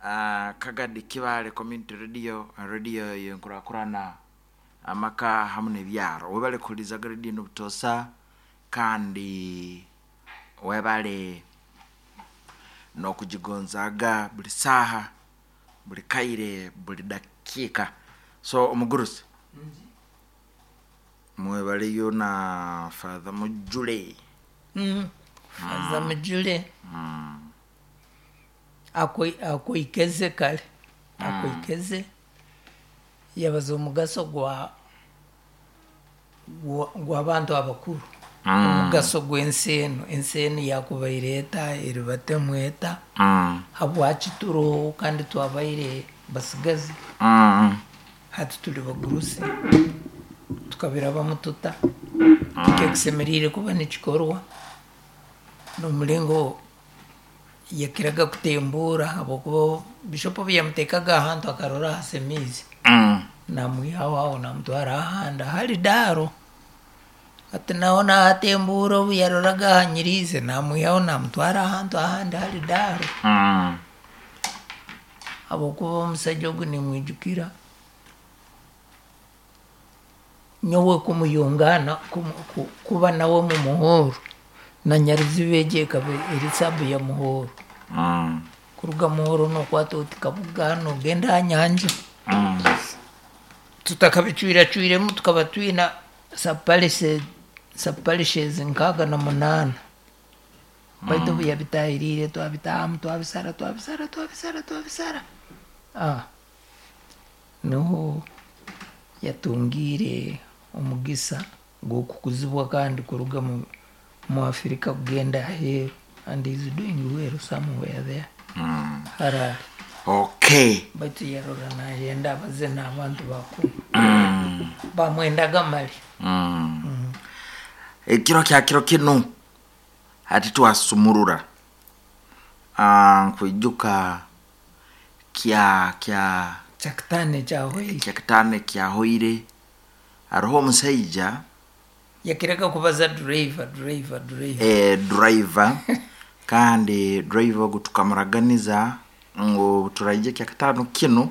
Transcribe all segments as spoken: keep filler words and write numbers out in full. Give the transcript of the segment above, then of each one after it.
uh, Kagadi Kibale Community Radio, radio yenkurakurana amaka hamu n'ebyaro. Webale kuhurizaga radio n'obutosa, kandi webale n'okugigonzaga buli saaha, buli kaire, buli dakiika. So omugurusi mwebaleyo na Father Mujule. Mm. Father Mujule akoi- akoikeze kare, akoikeze yabaza omugaso gwa gwa- gw'abantu abakuru, omugaso gw'ensi enu, ensi enu yakubaire eta, eribatemu eta, Mm. habwaki turoho kandi twabaire basigazi, Mm. hati turi bagurusi, tukabirabamu tuta, kikekisemeriire kuba nikikorwa n'omulingo yakiraga kutembuura, habwokuba bishop obu yamuteekaga ahantu akarora hasemiize, Mm. namwihaho aho namutwara ahandi ahari daaro, hati naho nahatembuura, obu yaroraga ahanyiriize namwihaho namutwara ahantu ahandi hari daaro, Mm. habwokuba omusaija ogu nimwijukira nyowe kumuyungaana, kumu- ku- kuba nawe mu muhooro, na Nyaruziba egi ekaba eri sabu ya Muhooro, Mm. kuruga Muhooro nokwata oti Kabuga nogenda aha nyanja, Mm. tutakabicwiracwiremu tukaba twina subparishes nkaaga na munaana, baitu obu yabitahiriire twabitahamu, twabisara twabisara twabisara twabisara, ah, niho yatungiire omugisa gw'okukuzibwa kandi kuruga mu, mu Afrika kugenda aheeru, and he is doing well somewhere there. Mm. Harare. Okay. Baitu yarora nayenda abaze n'abantu bakuru Mm. bamwendaga mali. Mm. Ekiro kya kiro kinu hati twasumurura, Ah, nkwijuka kya kya Kyakitaano ekyahoire, kya kitaano ekyahoire, hariho omusaija yakiraga kubaza driver driver driver, eh, driver, kandi driver ogu tukamuraganiza ngu turaija kya kitaano kinu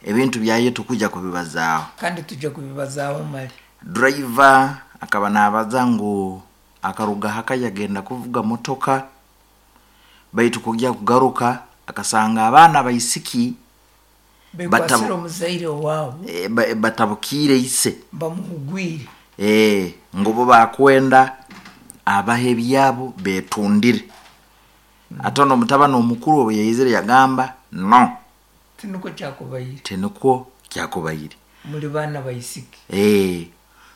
ebintu byaye tukuja kubibazaaho, kandi tujja kubibazaaho mali. Driver akaba nabaza ngu akaruga haka yagenda kuvuga motoka, baitu kujya kugaruka akasanga abaana baisiki bekwasire Batabu- omuzaire waabo, e, ba- batabukiire ise, bamuhugwire, e, ngu bo bakwenda abaha ebyabo betundire. Ate n'omutabani omukuru obu yaizire yagamba no, tinukwo kyakubaire, tinukwo kyakubaire, muri baana baisiki. e,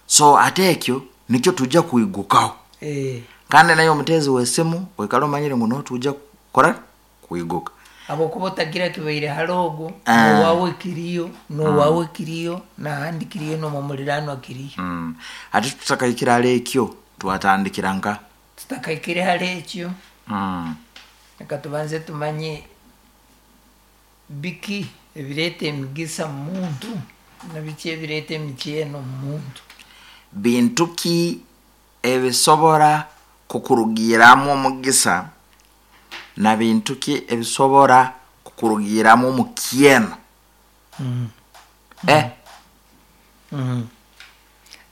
so ate ekyo nikyo tujja kwigukaho. Eh, Kandi naye omuteezi w'esimu oikale omanyire ngu niho tujja kukora kwiguka, habwokuba otagira kibaire hali ogwo, Ah. nowawe kiriyo, nowawe kiriyo, nahandi kiriyo, nomumuriranwa kiriyo. Mm. Ate tutakaikire hali ekyo twatandikira nka Tutakaikire hali ekyo, mm. reka tubanze tumanye biki ebireeta emigisa mu muntu na biki ebireeta emikyeno mu muntu. Bintu ki ebisobora kukurugiramu omugisa na bintu ki ebisobora kukurugiramu omukyeno? Mm. Eh. Mm.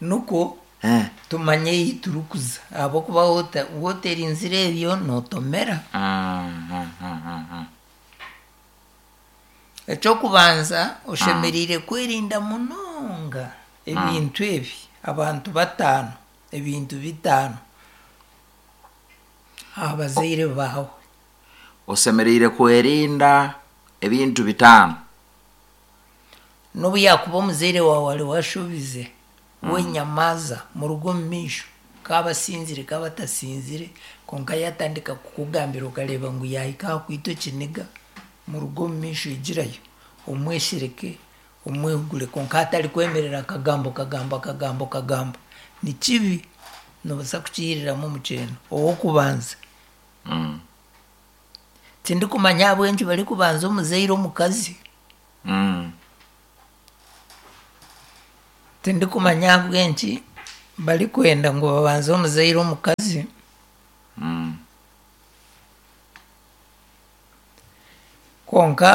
Nukwo Eh. tumanye ei turikuza, ahabwokuba wota- woterinzire ebyo notomera. Mm, mm, mm, mm, mm. Ekyokubanza oshemereire kwerinda munonga ebintu ebi, abantu bataano, ebintu bitaano abazaire baawe. Osemereire kwerinda ebintu bitaano. N'obu yakuba omuzaire waawe ari washubize, wenyamaza muruga omu maisho, kaba asinzire kaba atasinzire, konka yatandika kukugambira okareba ngu yahika aha kwita ekiniga, muruga omu maisho igirayo, omweshereke, omwehugure, konka atari kwemerera akagambo kagambo akagambo kagambo, ni kibi, nobaasa kukihiriramu omukyeno. Ow'okubanza, Mm. tindikumanya ahabw'enki barikubanza omuzaire omukazi, Mm. tindikumanya ahabw'enki barikwenda ngu babanze omuzaire omukazi, Mm. Kwonka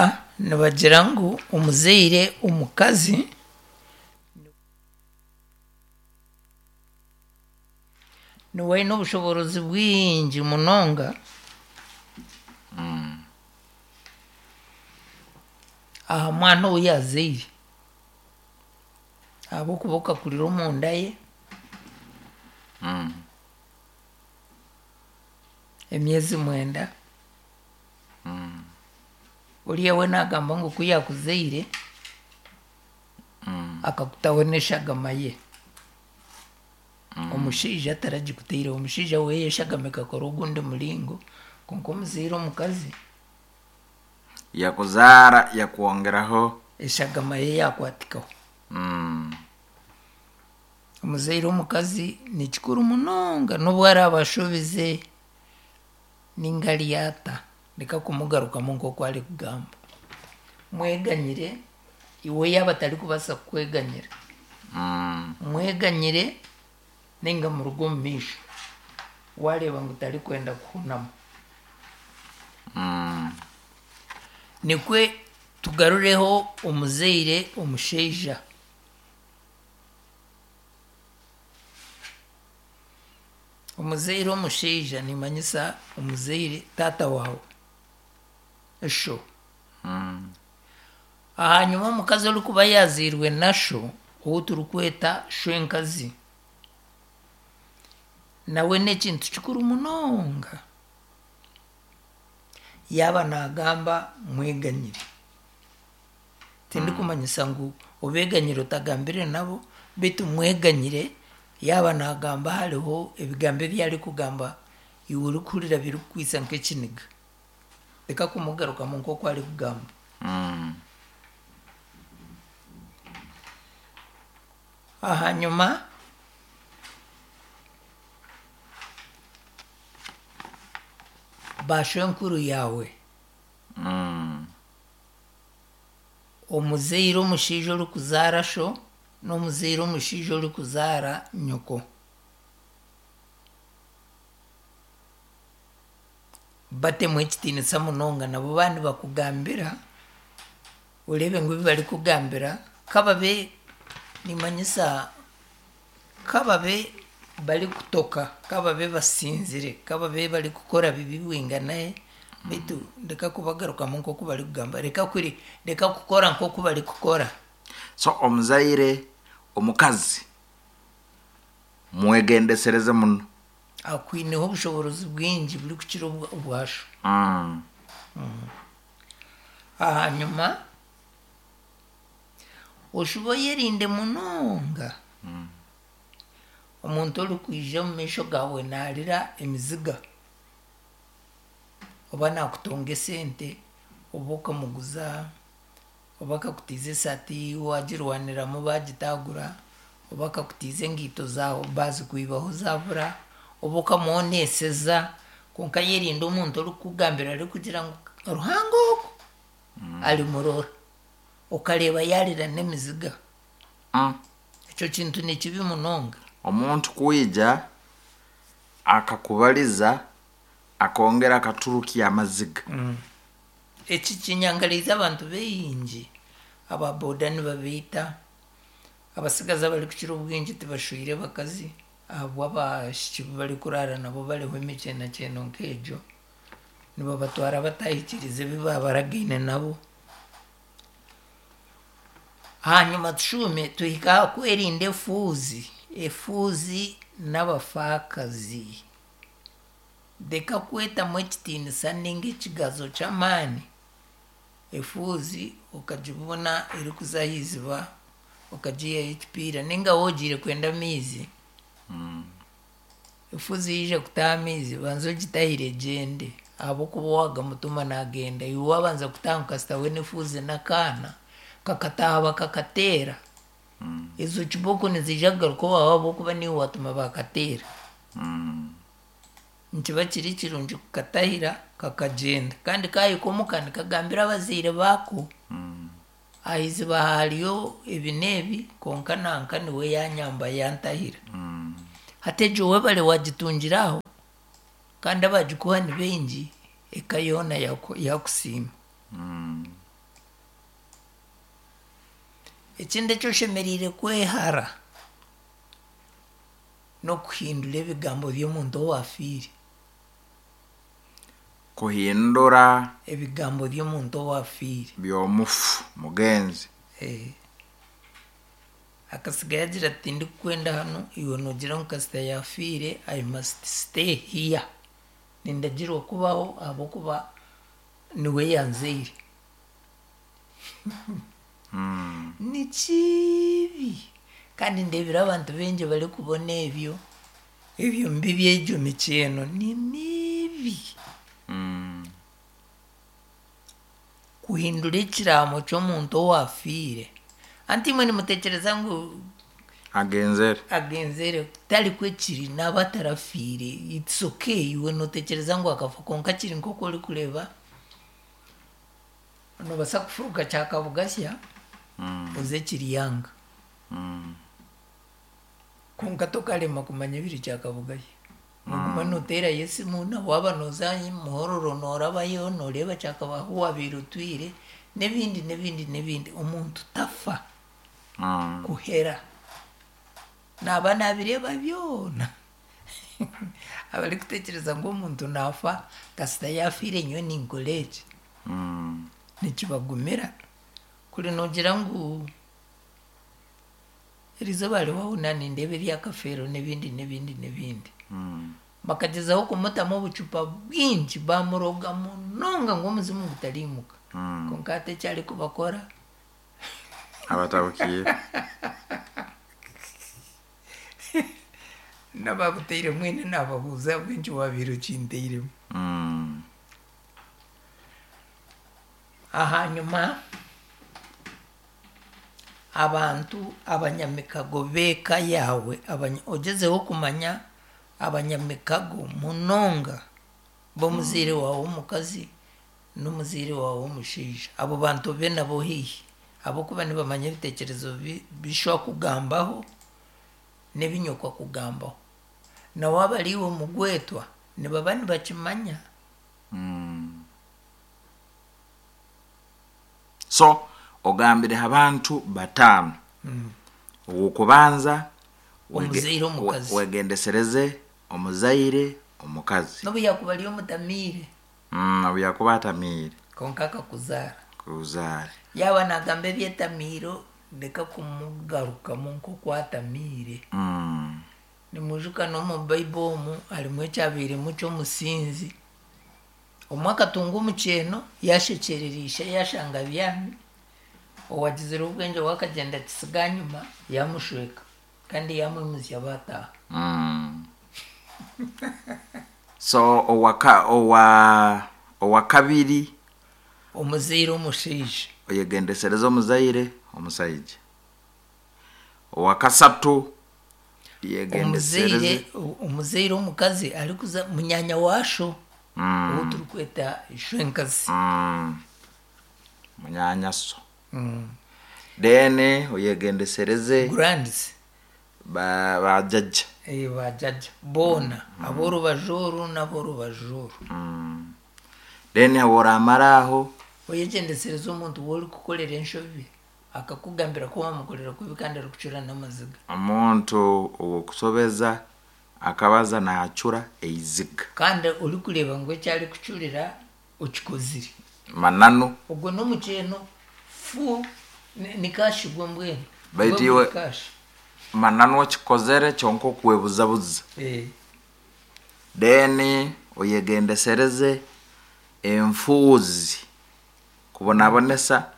nibagira ngu omuzaire omukazi niwe aine obushoborozi bwingi munonga aha mwana ou yazaire, ahabw'okuba okakurira omunda ye Mm. emyezi mwenda. Mm. Oriya we nagamba ngu ku yakuzaire Mm. akakutaho n'eshagama ye. Omushaija taragikutaireho, omushaija we eshagama ekakora ogundi muringo, kwonka omuzaire omukazi Yakuzaara yakwongeraho. Eshagama ye yakwatikaho. Mm. Omuzaire omukazi ni kikuru munonga, n'obu araaba ashobize ninga aryata, reka kumugarukamu nk'oku arikugamba. Mweganyire iwe yaaba atarikubaasa kukweganyira. Mm. Mweganyire ninga muruge omu maisho wareeba ngu tarikwenda kuhunama. Mm. Nikwe tugarureho omuzaire omushaija. Omuzaire omushaija nimanyisa omuzaire taata waawe, sho. Mm. Ahanyuma omukazi orikuba yazairwe na sho, ou turikweta shwenkazi, nawe n'ekintu kikuru munonga. Yaaba nagamba mweganyire, tindikumanyisa ngu obeganyire otagambire nabo, beitu mweganyire yaaba nagamba hariho ebigambo ebi arikugamba iwe orikuhurira birikukwitsa nk'ekiniga, reka kumugarukamu nk'oku arikugamba. Mm. Ahanyuma bashwenkuru yaawe, Mm. omuzaire omushaija orikuzaara sho n'omuzaire omushaija orikuzaara nyoko, batemu ekitiinisa munonga. Nabo bandi bakugambira oreebe ngu ebi barikugambira kababe nimanyisa kababe barikutoka, kababe basinzire, kababe barikukora bibi bwinganahe, beitu reka kubagarukamu nk'oku barikugamba, reka kuri reka kukora nk'oku barikukora. So omuzaire omukazi mwegendesereze muno. Akwineho obushoborozi bwingi burikukira obwa- obwasho. Mm. Ahanyuma oshuba oyerinde munonga omuntu orikwija omu maisho gaawe naarira emiziga, oba nakutonga esente, oba okamuguza, oba akakutiiza esaati wagirwaniramu bagitagura, oba akakutiiza engaito zaawe bazikwibaho zabura, oba okamuoneseza. Kwonka yerinde omuntu orikukugambira arikugira ngu Ruhanga ogu arimurora, okareeba yarira n'emiziga. Mm. Ekyo kintu ni kibi munonga. Omuntu kwija akakubaliza akongera akaturukya amaziga. Eki kinyangariza abantu baingi, aba boda nibabiita, abasigazi abarikukira obwingi tibashwire bakazi ahabw'abashiki bu barikuraara nabo bariho emikyenakyeno nk'egyo, nibabatwara batahikiriza ebi babaragaine nabo. Hanyuma tushume tuhika aha kwerinda efuuzi, efuuzi n'abafaakazi. Reka kwetamu ekitiinisa ninga ekigazo ky'amaani, efuuzi okagibona erikuza aha iziba okagiihaho ekipiira, ninga wogiire kwenda amaizi, efuuzi yaija kutaha amaizi banza ogitahire egyende, ahabw'okuba waagamutuma nagenda, iwe wabanza kutaha kasita we n'efuuzi n'akaana kakataaha bakakateera, ezo kibooko niziija kugaruka owaawe ahabw'okuba niiwe watuma bakateera. Mm. Nikiba kiri kirungi kukatahira kakagyenda, kandi kahika omuka nikagambira abazaire baako, Mm. aha iziba hariyo ebi n'ebi, kwonka nanka niwe yanyamba yantahira. Mm. Hati egyo webare wagitungira aho, kandi abagikuha ni baingi, eka yoona yaku- yakusiima. Mm. Ekindi eki oshemereire kwehara n'okuhindura ebigambo by'omuntu owaafiire. Kuhindura ebigambo by'omuntu owaafiire. By'omufu mugenzi. Eh. Akasigayo agira ati tindikukwenda hanu, iwe noogira ngu kasita yaafiire I must stay here. Nindagirwa kubaho ahabw'okuba niwe yanzaire. Mm. Ni kibi kandi ndeebire abantu baingi barikubona ebyo, ebyo mibi egyo mikyeno ni mibi. Mm. Kuhindura ekiraamo ky'omuntu owaafiire. Anti imwe nimutekyereza ngu agenzere agenzere, tarikwo kiri, naaba atarafiire, it's okay, iwe nootekyereza ngu akafa kwonka kiri nk'oku orikureeba, noobaasa kufuruka Kyakabugasya Mm. oze Kiryanga. Mm. Kwonka tokarema kumanya ebiri Kyakabugasya. Noguma nooteerayo esimu na waaba nooza Muhororo noorabayo nooreeba Kyakaba ahu waabiire otwire n'ebindi n'ebindi n'ebindi. Omuntu tafa Mm. kuhera. Naaba naabireeba byona. Abarikutekyereza ngu omuntu naafa kasita yaafiire nyowe ninkora eki. Mm. Nikibagumira. Kuri noogira ngu erizooba hariho nanindeeba ebyakafeero n'ebindi n'ebindi n'ebindi. Mm. Bakagyezaho kumutamu obucupa bwingi bamuroga munonga ngu omuzimu gutariimuka. Mm. Kwonka hati eki arikubakora Abatabukiire. N'ababutaire mwene naababuuza ahabw'enki waabaire okintairemu. Mm. Ahanyuma abantu abanyamikago b'eka yaawe, abanya, ogyezeho kumanya abanyamikago munonga b'omuzaire waawe w'omukazi n'omuzaire waawe w'omushaija. Abo bantu obe nabo haihi ahabw'okuba nibamanya ebiteekyerezo bi- bishobora kugambaho n'ebinyokwa kugambaho. Na waaba ari iwe mugwetwa nibaba nibakimanya. Mm. So ogambire abantu bataano. Ow'okubanza wege- Omuzaire omukazi. we- wegendesereze omuzaire omukazi. N'obu yaakuba ari omutamiire. Mm, obu yakuba atamiire. Kwonka akakuzaara. Kuzaara. Yaaba naagamba ebyetamiiro reka kumugarukamu nk'oku atamiire. Mm. Nimwijuka n'omu Bible omu harimu ekyabairemu ky'omusinzi. Omwe akatunga omukyeno yaashekyerera ishe yashanga abyami, owagizire obwengye we akagyenda akisiga ahanyima yamushweka kandi yamwimuzya baataaha. Mm. So owaka owa owakabiri Omuzaire omushaija. Oyegendesereze omuzaire omusaija. Owakasatu yegendesereze Omuzaire omuzaire omukazi arikuza munyanya waasho Mm. ou turikweta ishwenkazi. Mm. Munyanyaso. Mm. Then oyegendesereze Grands. ba bajjajja. Eh, bajjajja boona ab'orubaju oru n'ab'orubaju oru. Mm. Then oramara aho Oyegyendesereze omuntu ou orikukorera enshobi akakugambira ku wamukorera kubi kandi arikucura n'amaziga. Omuntu ow'okusobeza akabaza naacura eiziga. Kandi orikureeba ngu eki arikucurira okikozire. Mananu. Ogwo n'omukyeno fu ni- ni kashi gwe mbwenu. Baitu Gwe iwe buri kashi. Mananu okikozere kyonka okwebuzabuza. Eh. Then oyegendesereze enfuuzi kubonabonesa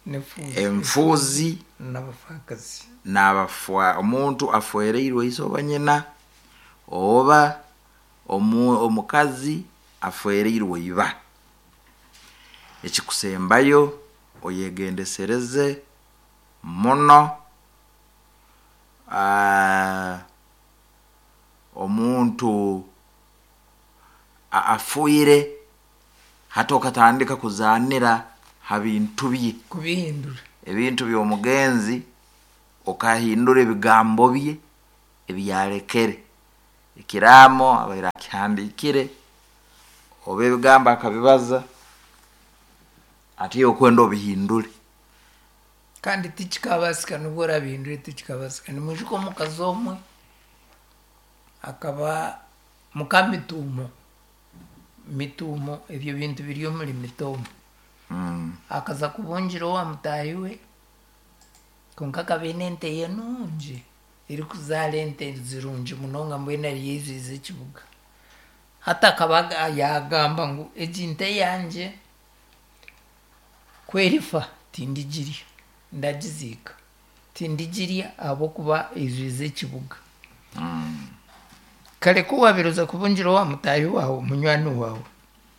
N'enfuuzi. Enfuuzi N'abafaakazi. N'abafwa omuntu afwereirwe ise oba nyina oba omu, omukazi afwereirwe iba. Ekikusembayo oyegendesereze muno aa, omuntu a- afuire hati okatandika kuzaanira ha bintu bye. Kubihindura. Ebintu by'omugenzi okahindura ebigambo bye ebyarekere. Ekiraamo abaire akihandiikire oba ebigambo akabibaza. Ati okwenda obihindure. Kandi tikikabasika nubwo orabihindure tikikabasika. Nimwijuka omukazi omwe akaba muka mituumo. Mituumo ebyo bintu biri omuri mitooma. Mm. Akaza kubungira owa mutaahi we konka akaba aine ente ye nungi erikuzaara ente zirungi munonga mbwenu ariyo eizwize ekibuga. Hati akaba yagamba ngu egi nte yangye ku erifa tindigirya ndagiziika tindigirya ahabw'okuba eizwize ekibuga. Mm. Kare ku waabaire oza kubungira owa mutaahi waawe munywani waawe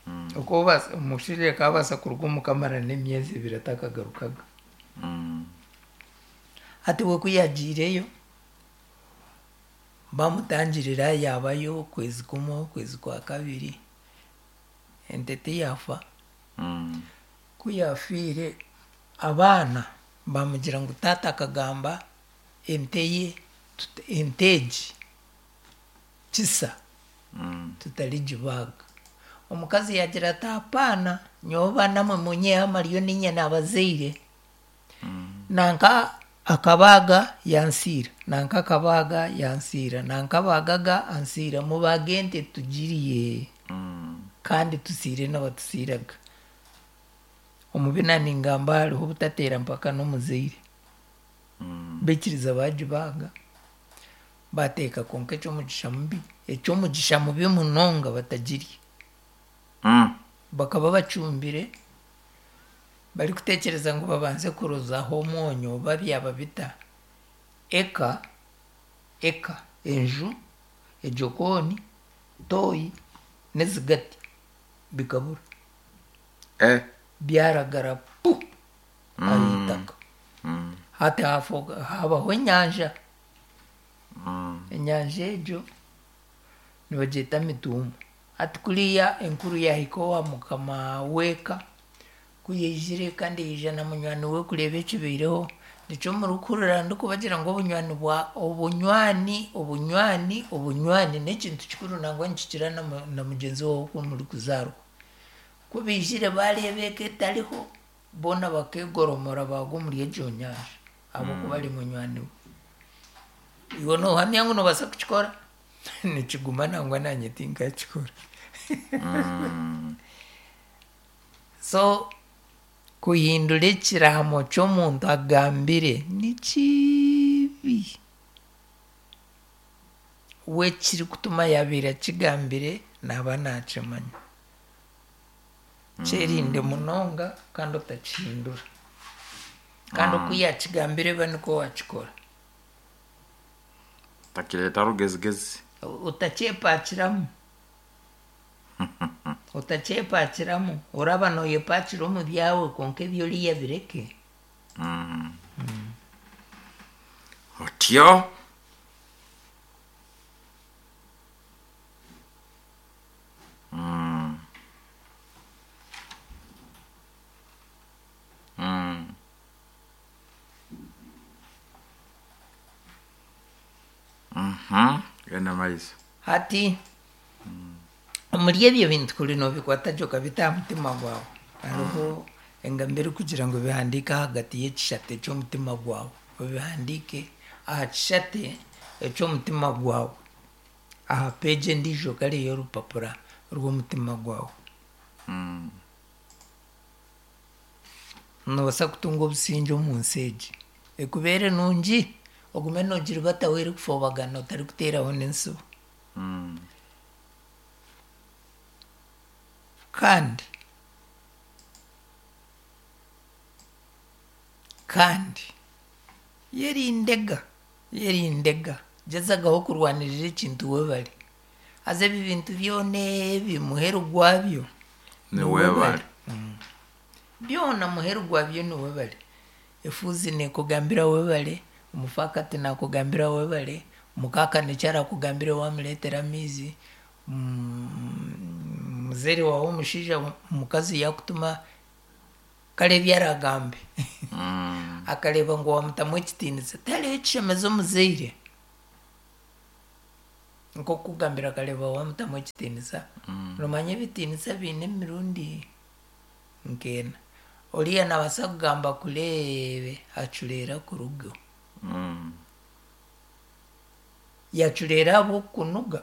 Mm. oku omushaija akabaasa kuruga omuka amara n'emyezi ebiri atakagarukaga. Mm. Hati we ku yagiireyo bamutangirira yabayo okwezi kumwe okwezi kwa kabiri ente tiyafa. Mm. Ku yafiire abaana bamugira ngu taata akagamba ente ye ente egi kisa Mm. tutarigibaaga. Omukazi yagira ati apaana nyowe baana mwe munyiheho amaryo niinye naabazaire. Mm. Nanka akabaaga yansiira, nanka akabaaga yansiira, nanka abaagaga ansiira mubaage ente tugirye Mm. kandi tusiire n'abatusiiraga. Omu bina ningamba hariho obutateera mpaka n'omuzaire. Mm. Baikiriza bagibaaga bateeka konka eky'omugisha mubi eky'omugisha mubi munonga batagirya. Mm. Bakaba bacumbire barikuteekyereza ngu babanze kurozaho omwonyo oba byaba bita. Eka, eka, enju, ejokooni, toyi n'ezigati bikabura. Eh. Byaragara pu ah'eitaka. Mm. Hati hafoka habaho enyanja. Mm. Enyanja egyo nibagyeta mituumo. Hati kuriya enkuru yahika owa mukama w'eka ku yaizire kandi yaija na munywani we kureeba ekibaireho nikyo murikuhurira ndikubagira ngu obunywani bwa obunywani obunywani obunywani n'ekintu kikuru nangwa nikikira na, na mugyenzi waawe oku murikuzaarwa. Ku baizire bareeba eka etariho boona bakeegoromora baagwa omuri egyo nyanja ahabw'okuba ari munywani we. Iwe noohamya ngu noobaasa kukikora? Nikiguma nangwa naanye tinkakikora. Mm. So kuhindura ekiraamo ky'omuntu agambire ni kibi. We ekirikutuma yabaire akigambire naaba naakimanya. Kyerinde munonga kandi otakihindura. Kandi oku yakigambire ba nikwo wakikora. Takireeta rugezigezi. Otakyepakiramu. Otakyepakiramu. Oraba nooyepakira omu byawe konka eby'oriya bireke. Mm. Otyo. Mm. Mm. Mhm. Genda maiso. Hati omuri ebyo bintu kuri noobikwata gye okabita aha mutima gwawe. Hariho engambo erikugira ngu bihandiike ahagati y'ekishate ky'omutima gwawe. Obihandiike aha kishate eky'omutima gwawe. Aha peegi endiijo kare y'orupapura rw'omutima gwawe. Mm. Noobaasa kutunga obusingye omu nsi egi. Ekubeere nungi ogume noogiribataho erikufobagana otarikuteeraho n'ensibo. Mm. Kandi kandi yerindega yerindega gyezagaho kurwanirira ekintu webare. Haza ebi bintu byona ebi muheru gwabyo Ni webare. Mm. Byona muheru gwabyo ni webare. Efuuzi neekugambira webare, omufaakati naakugambira webare, mukaaka nikyo arakugambire wamureetera amaizi, mm, muzeere waawe omushaija omukazi yaakutuma kare ebi aragambe. Mm. Akareeba ngu wamutamu ekitiinisa. Tihariho ekishemeza omuzaire. Nk'okukugambira akareeba wamutamu ekitiinisa. Mm. Noomanya ebitiinisa biine emirundi nk'ena. Oriya nabaasa kugamba kureebe acureera kurugaho. Mm. Yacureera ahabw'okukunuga,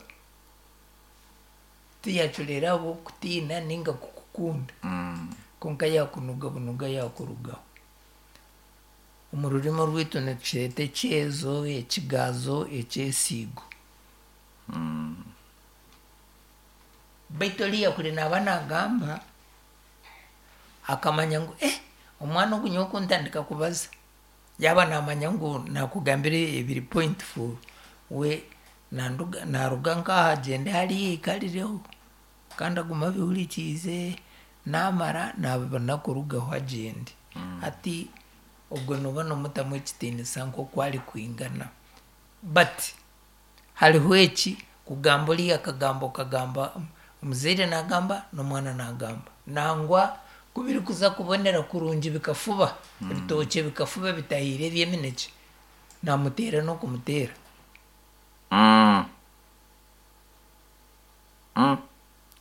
tiyacureera ahabw'okutiina ninga kukukunda. Mm. Konka yakunuga bunuga yakurugaho. Omu rurimi rwitu nitukyeta ekyezo, ekigazo, ekyesiigo. Mm. Baitu oriya kuri naaba nagamba akamanya ngu eh omwana ogu nyowe kuntandika kubaza, yaaba namanya ngu nakugambira ebiri point four, we nanduga naruga nk'aha agyende hariya aikarireho kandi agume abihurikiize, namara nabibona kurugaho agyende. Hati obwo nooba nomutamu ekitiinisa nk'oku arikwingana. But hariho eki kugamba oriya akagamba okagamba omuzaire nagamba n'omwana nagamba. Nangwa ku birikuza kubonera kurungi bikafuba, ebitookye bikafuba bitahiire eby'eminekye, namuteera n'okumuteera. Mm. Mm.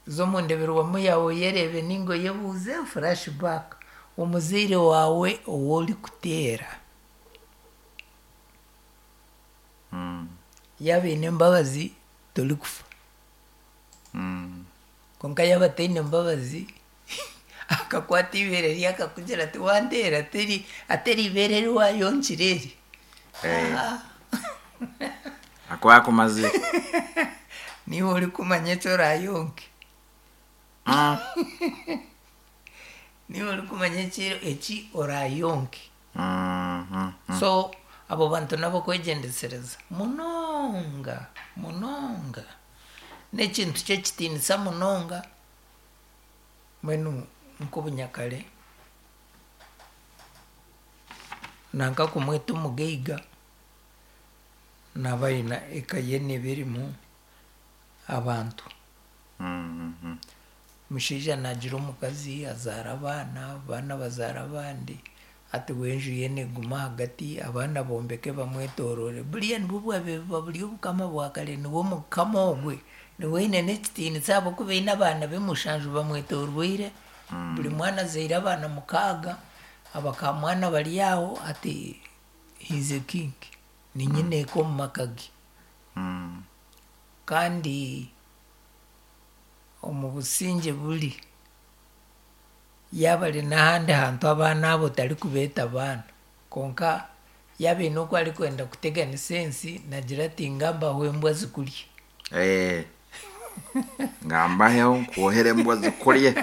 Za omu ndeberwamu yaawe oyereebe ninga oyebuuze flashback, omuzaire waawe ou orikuteera Mm. yaaba aine embabazi torikufa. Mm. Konka yaaba ataine mbabazi akakwata eibeere rye akakugira ati wanteera teri ateri ibeere eri wayonkire eri. Eh. Ah, Akuba akumazire. niiwe orikumanya eki orayonke. Mm. Niiwe orikumanya eki eki orayonke. Mm. Mm. So abo bantu nabo kwegyendesereza munonga munonga. N'ekintu ky'ekitiinisa munonga mbwenu nk'obunyakare nanka kumweta omugaiga naaba aine eka ye neeba erimu abantu. Mm. Mm. Omushaija naagira omukazi azaara abaana, abaana bazaara abandi, hati we enju ye neeguma ahagati, abaana bombeke bamwetorore. Buriya nibwo bwabaire buba buri obukama bwa kare, niwe mukama ogwe, niwe aine n'ekitiinisa ahabw'okuba aine abaana be mushanju bamwetorweire, buri mwana azaire abaana mukaaga, abakamwana bari aho, hati he is a king, ni nyineeka omu maka ge. Mm. Kandi omu busingye buri, yaaba ari n'ahandi hantu abaana abo tarikubeeta baana, konka yaaba aine oku arikwenda kuteganisa ensi nagira ati ngambaho embwa zikurye. Eh. Ngambaheho nkuohere embwa zikurye.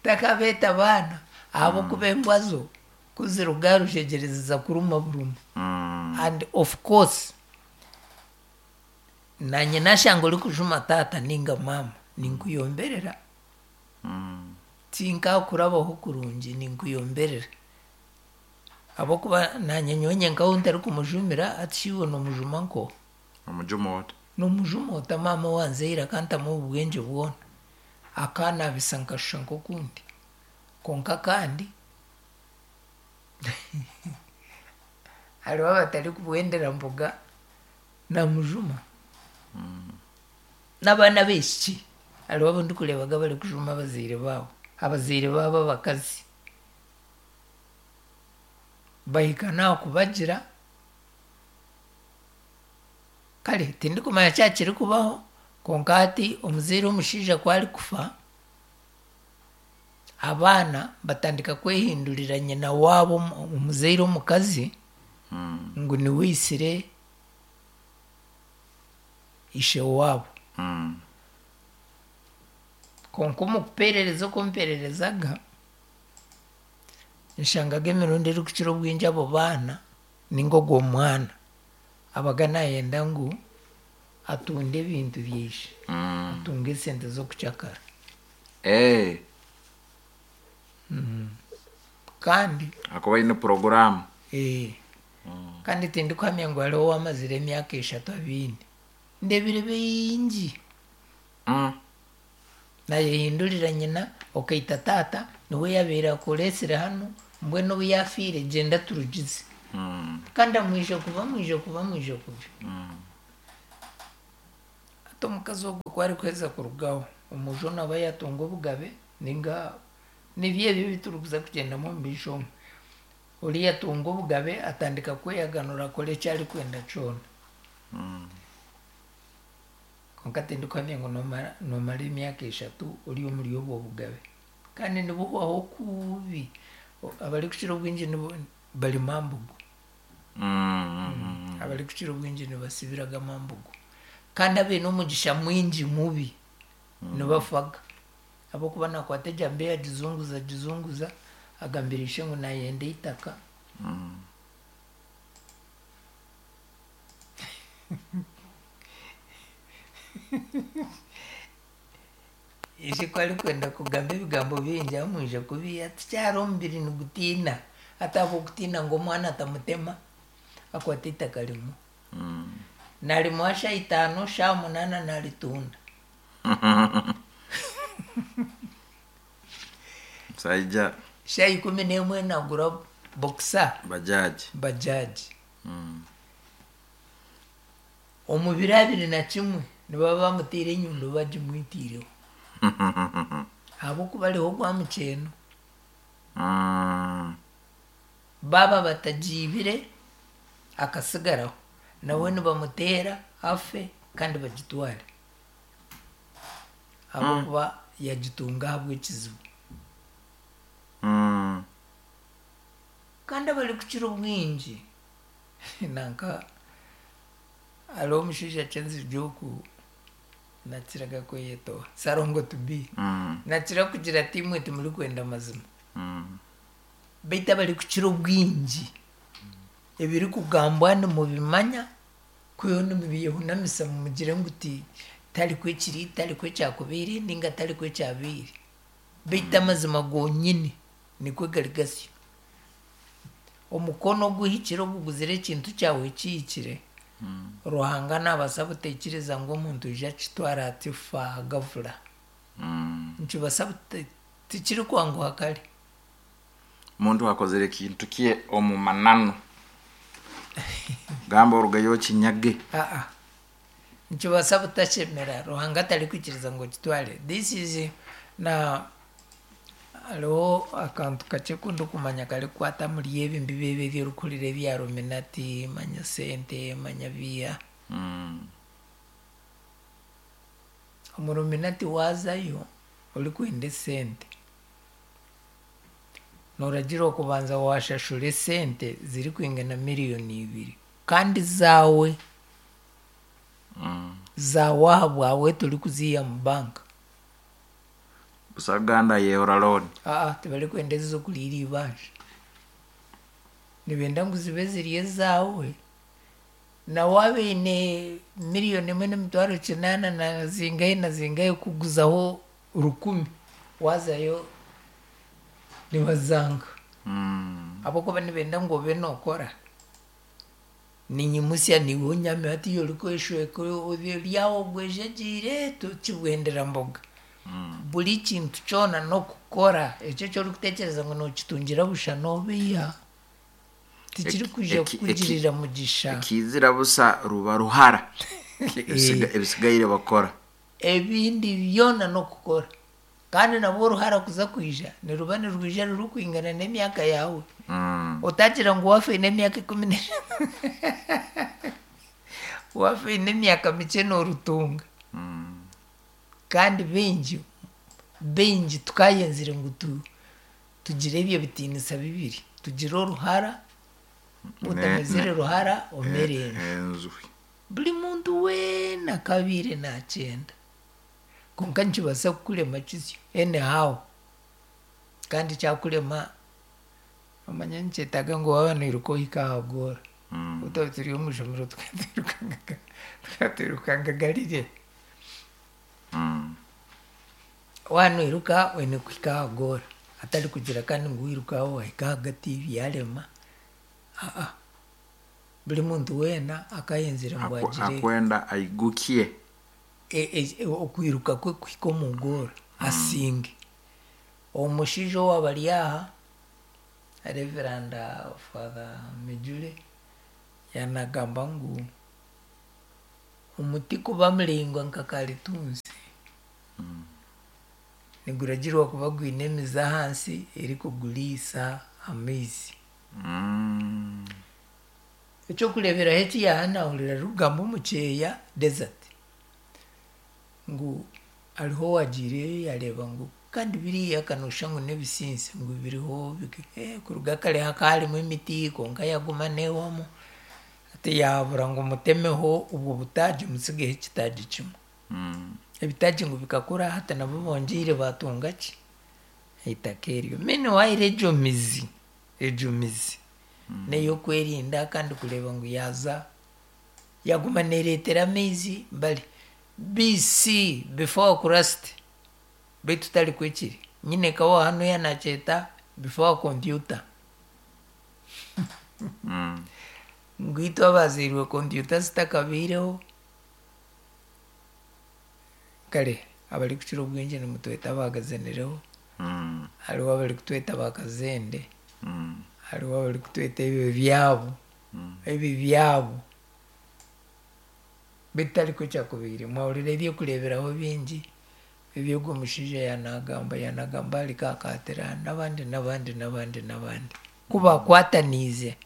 Takabeeta baana ahabw'okuba embwa zo kuziruga aha rushegyere ziza kuruma buruma. Mm. And of course nanye nashanga orikujuma taata ninga maama ninkuyomberera. Mm. Tinkakurabaho kurungi ninkuyomberera. Ahabw'okuba nanye nyowe nyenkaho ntarikumujumira ati shi iwe nomujuma nko? Omujuma ota? Nomujuma ota maama owanzaire akantamu obwengye bwona. Akanabisa nkashusha nk'okundi. Konka kandi hariho abatarikubwendera mbuga namujuma. N'abaana b'aishiki hariho abu ndikureebaga barikujuma abazaire baabo, abazaire baabo abakazi. Bahika n'aha kubagira, kare tindikumanya kyaba kirikubaho konka hati omuzaire omushaija ku arikufa, abaana batandika kwehindurira nyina waabo omuzaire omukazi Mm. ngu niwe aitsire ishe waabo. Mm. Konka omu kupeerereza oku mpeererezaga, nshangaga emirundi erikukira obwingi abo baana ninga ogwo mwana abaga nayenda ngu atunde ebintu byaishe, Mm. atunge esente z'okukyakara. Eh. Kandi Akuba aine poroguramu. eh, kandi tindikuhamya ngu hariho owamazire emyaka eshatu abiine. Ndebire bingi. Mm. Nayehindurira nyina okaita taata niwe yabaire akureesire hanu mbwenu obu yafiire gyenda turugize. Mm. Kandi amwije kuba amwije kuba amwije kubi. Mm. Hati omukazi ogwo ku arikuheza kurugaho, omujo naaba yatunga obugabe ninga Nibyo ebyo ebi kugyendamu omu maisho omu. Oriya atunga obugabe atandika kweyaganura akora eki arikwenda kyona. Kwonka tindikuhamya ngu noomara noomara emyaka eshatu ori omuri obwo bugabe. Kandi nibuhwaho kubi. Abarikukira obwingi nibo bari mambugu. Mm. Abarikukira obwingi nibasibiraga mambugu. Kandi abaine omugisha mwingi mubi nibafaga. Ahabw'okuba nakwata ejambiya agizunguza agizunguza agambira ishe ngu nayenda eitaka. Mm. Ishe ku arikwenda kugamba ebigambo bingi amwija kubi ati kyari omubiri nigutiina. Ati ahabw'okutiina ngu omwana atamutema akwata eitaka rimwe. Mm. Narimuha shaaha itaano, shaaha munaana naritunda. Musaija Shaaha ikumi n'emwe nagura boxer bajaji. Bajaji. Mm. Omu biro abiri na kimwe nibaba bamutiire enyundo bagimwitiireho. Ahabw'okuba ariho gwa mukyeno. Mm. Baaba batagiibire akasigaraho. Nawe nibamuteera afe kandi bagitware. Ahabw'okuba yagitunga ahabw'ekizibu. Mm. Kandi abarikukira obwingi nanka hariho omushaija kyenzirye oku nakiraga kweyetoha Sarongo to be. Mm. Nakira kugira ati imwe timurikwenda mazima. Mm. Baitu abarikukira obwingi ebirikugambwa nimubimanya kwihaho nimubyehunamisa mumugire ngu ti tarikwo ekiri, tarikwo ekyakubaire ninga tarikwo ekyabaire. Baitu amazima gonyini nikwo gari gasyo. Omukono oguhikire oguguzire ekintu kyawe kihikire, Ruhanga nabaasa buteikiriza ngu omuntu aije akitware ati fa gavura. Mm. Nikibaasa buta tikirikwanguha kare. Omuntu akozere ekintu kye omu mananu. Gamba orugayo okinyage. Aa. Nikibaasa butashemera Ruhanga atarikwikiriza ngu okitware. This is na hariho akantu kakye aku ndikumanya karikukwata omuri ebi mbibi ebi ebi orikuhurira ebya Illuminati, manya sente, manya biiha. Mm. Omu Illuminati waazayo orikwenda esente, nooragiirwa kubanza waashashura esente zirikwingana miliyoni ibiri kandi zaawe. Mm. Zaawe aha bwawe torikuziiha mu banka. Busaganda yehora loan. Aa tibarikwenda ez'okuriira eibanja. Nibenda ngu zibe ziri ezaawe. Na waaba oine miliyoni emwe n'emitwaro kinaana na zingahi na zingahi kuguzaho rukumi, waazayo nibazanga. Mm. Ahabw'okuba nibenda ngu obe nookora. Ninyimusya niiwe onyami hatiiya orikweshweka ori aho ogwejegyeire tokibwendera mboga. Mm. Buri kintu kyona n'okukora ekyo eki orikutekyereza ngu nookitungira busha noobeiha. Tikirikwija Eki- eki- kukugirira mugisha. Ekizira busa ruba ruhara. Ebisiga- Ebisigaire bakora. Ebindi byona n'okukora. Kandi nabwo oruhara kuza kwija niruba nirwija rurikwingana n'emyaka yaawe. Mm. Otagira ngu waafa oine emyaka ikumi n'eshatu waafa oine emyaka mikye noorutunga. Mm. Kandi baingi baingi tukayenzire ngu tu, tugire ebyo bitiinisa bibiri. Tugire oruhara, otamezire Ne- ruhara omere enju. Enju. Buri muntu weena akabaire nakyenda. Kwonka nikibaasa kukurema kisyo anyhow. Kandi kyakurema omanya nikyetaaga ngu waaba noiruka ohike aha goora. Mm. Obu turi omu ishomero tukatwirukangaga tukatwirukangaga rirye. Mm. Waaba noiruka oine kuhika aha goora. Atari kugira kandi ngu wiruka aho wahika ahagati byarema. Aa. Buri muntu weena akayenzire ngu Aku- agire Akwenda aigukie. e- e- okwiruka kwe kuhika omu goora asinge. Omushaija owaaba ari aha, Reverand Father Mejule, yaanagamba ngu omuti kuba muraingwa nka karitunsi. Niguragirwa kuba gwine emizi ahansi erikuguriisa amaizi. Mm. Ekyokureeberaho eki yahanahurira arikugamba omu kyeya desert ngu hariho owagiireyo yareeba ngu kandi biriya kanoshusha ngu n'ebisinsi ngu biriho biki- eh, kuruga kare hakaba harimu emiti kwonka yaguma neewamu ati yahabura ngu mutemeho obwo butaagi musigeho ekitaagi kimwe. Mm. Ebitaagi ngu bikakura hati nabo bongyeire batunga ki eitaka eryo. Meanwhile egyo mizi egyo mizi n'ey'okwerinda kandi kureeba ngu yaaza yaguma neereetera amaizi bari B C, before Christ, beitu tari kwekiri nyine kawa hanu yanakyeta before computer. Mm. Ngu itwe abazairwe kompyuta zitakabaireho kare abarikukira obwingi nimutweta abagazanireho. Mm. Hariho abarikutweta bakazende. Mm. Hariho abarikutweta ebyo byabo. Mm. Ebi byabo beitu tarikwo kyakubaire mwahurira ebyokureeberaho bingi eby'ogwo mushaija yanagamba yanagamba ahari Kakatira n'abandi n'abandi n'abandi n'abandi ku bakwataniize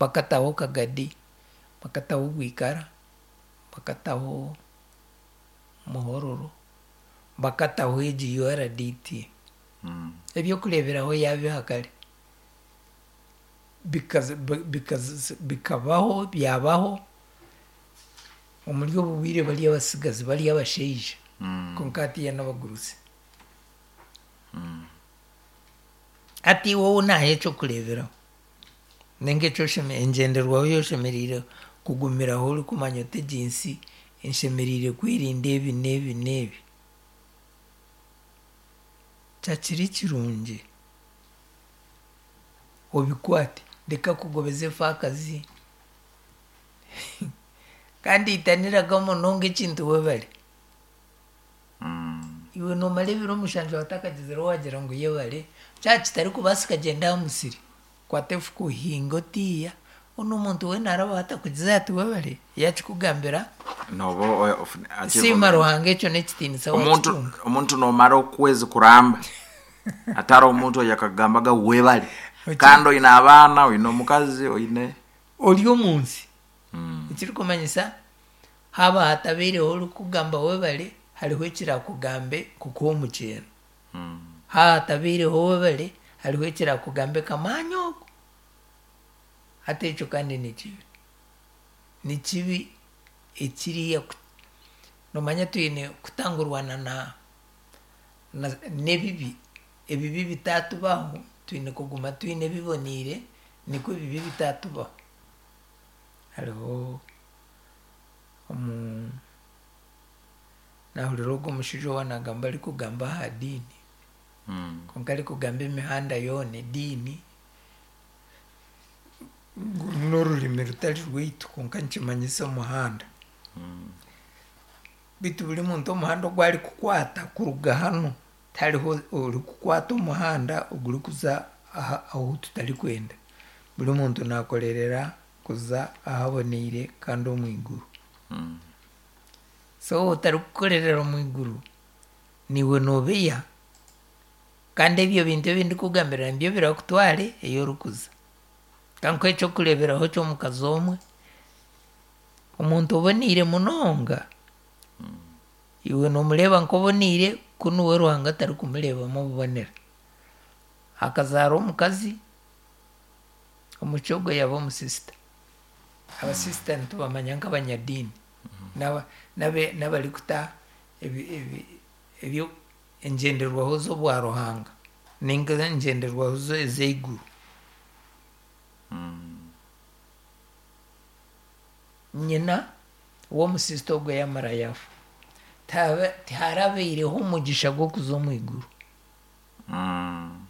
bakataho Kagadi, bakataho Bwikara, bakataho Muhororo, bakataho egi U R D T. Mm. Ebyokureeberaho yabiha kare bikaza- bi- bikaza- bikabaho byabaho omuri obu bwire bari abasigazi bari abashaija. Mm. Konka hatiya n'abagurusi. Mm. Hati wowe naha ekyokureeberaho ninga ekyo engyenderwaho yoshemereire kugumiraho orikumanya oti egi nsi enshemereire kwerinda ebi n'ebi n'ebi kyakiri kirungi obikwate reka kugobeza efaakazi kandi itaniraga munonga ekintu webare. Mm. Iwe nomara ebiro mushanju watakagizire wagira ngu yebare kyaba kitarikubaasika gyenda aha musiri kwata efuka ohinge otiiya onu omuntu weena araba atakugize ati webare yakikugambira. Noba o- of- achieve- Siima Ruhanga ekyo n'ekitiinisa omuntu wakitunga. Omuntu nomara okwezi kuramba atari omuntu oyo akagambaga webale Oki- kandi oine abaana, oine omukazi, oine ori omu nsi. Mm. Ekirikumanyisa haaba hatabaireho orikugamba webare hariho ekirakugambe kukuha omukyeno. Mm. Haaba hatabaireho webare hariho ekirakugambe kamaanya ogu hati ekyo kandi ni kibi ni kibi ekiriya ku- nomanya twine kutangurwana na na- n'ebibi ebibi bitatubaho twine kuguma twine ebiboniire nikwo ebibi bitatubaho. Hariho omu nahurira ogwo omushaija owanagamba arikugamba aha diini. Mm. Konka arikugamba emihanda yoona ediini ngu n'orurimi rutari rwaitu konka nikimanyisa omuhanda. Mm. Beitu buri muntu omuhanda ogu arikukwata kuruga hanu tihariho orikukwata omuhanda ogurikuza aha ahu tutarikwenda. Buri muntu nakorerera kuza ahaboneire kandi omu iguru. Mm. So otarikukorerera omu iguru niiwe noobeya kandi ebyo bintu ebi ndikugambira nibyo birakutware ei orikuza. Kankuhe ekyokureeberaho ky'omukazi omwe omuntu oboneire munonga iwe nomureeba nk'oboneire kunu we Ruhanga atarikumureebamu obubonera. Akazaara omukazi omuki ogwo yaba omusisita. Abasisita nitubamanya nk'abanyadiini n'aba- n'abe- n'abarikuta ebi- ebi- ebyo engyenderwaho z'obwa Ruhanga ninga engyenderwaho zo- ez'eiguru. Mm. Nyina w'omusisita ogwo yamara yafa Tihaba- tiharabaireho omugisha gw'okuza omu iguru. Mm.